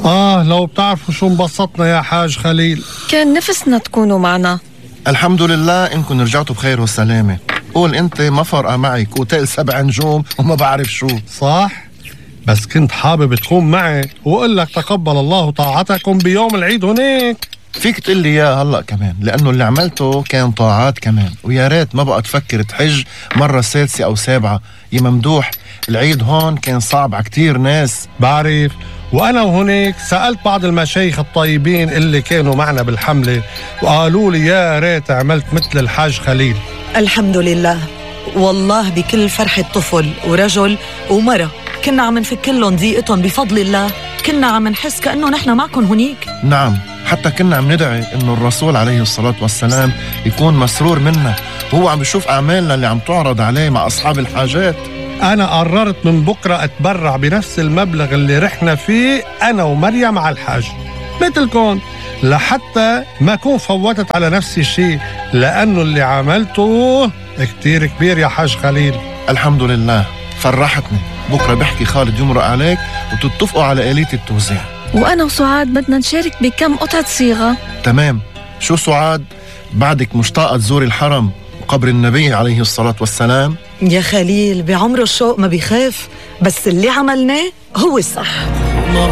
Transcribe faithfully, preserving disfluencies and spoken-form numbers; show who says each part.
Speaker 1: آه لو بتعرفوا شو انبسطنا يا حاج خليل.
Speaker 2: كان نفسنا تكونوا معنا.
Speaker 3: الحمد لله إنكم رجعتوا بخير وسلامة. قول أنت ما فرقة معك وتقل سبع نجوم وما بعرف شو.
Speaker 1: صح؟ بس كنت حابب تكون معي وقل لك تقبل الله طاعتكم بيوم العيد هناك.
Speaker 3: فيك تقول لي إياه هلأ كمان، لأنه اللي عملته كان طاعات كمان، ويا ريت ما بقى تفكر تحج مرة سادسة أو سابعة. يا ممدوح العيد هون كان صعب على كتير ناس.
Speaker 1: بعرف، وأنا وهناك سألت بعض المشايخ الطيبين اللي كانوا معنا بالحملة وقالوا لي يا ريت عملت مثل الحاج خليل.
Speaker 4: الحمد لله، والله بكل فرحة طفل ورجل ومرة كنا عم نفك لهم ضيقتهم بفضل الله. كنا عم نحس كأنه نحن معكم هنيك.
Speaker 3: نعم، حتى كنا عم ندعي إنه الرسول عليه الصلاة والسلام يكون مسرور منا وهو عم بيشوف أعمالنا اللي عم تعرض عليه مع أصحاب الحاجات.
Speaker 1: أنا قررت من بكرة أتبرع بنفس المبلغ اللي رحنا فيه أنا ومريم على الحاج مثلكم، لحتى ما أكون فوتت على نفسي شيء، لأنه اللي عملته كتير كبير يا حاج خليل.
Speaker 3: الحمد لله، فرحتني. بكرة بحكي خالد يمرق عليك وتتفقوا على آلية التوزيع.
Speaker 2: وأنا وسعاد بدنا نشارك بكم قطعة صيغة.
Speaker 3: تمام. شو سعاد، بعدك مشتاقة تزوري الحرم وقبر النبي عليه الصلاة والسلام؟
Speaker 4: يا خليل بعمره الشوق ما بيخاف، بس اللي عملناه هو الصح.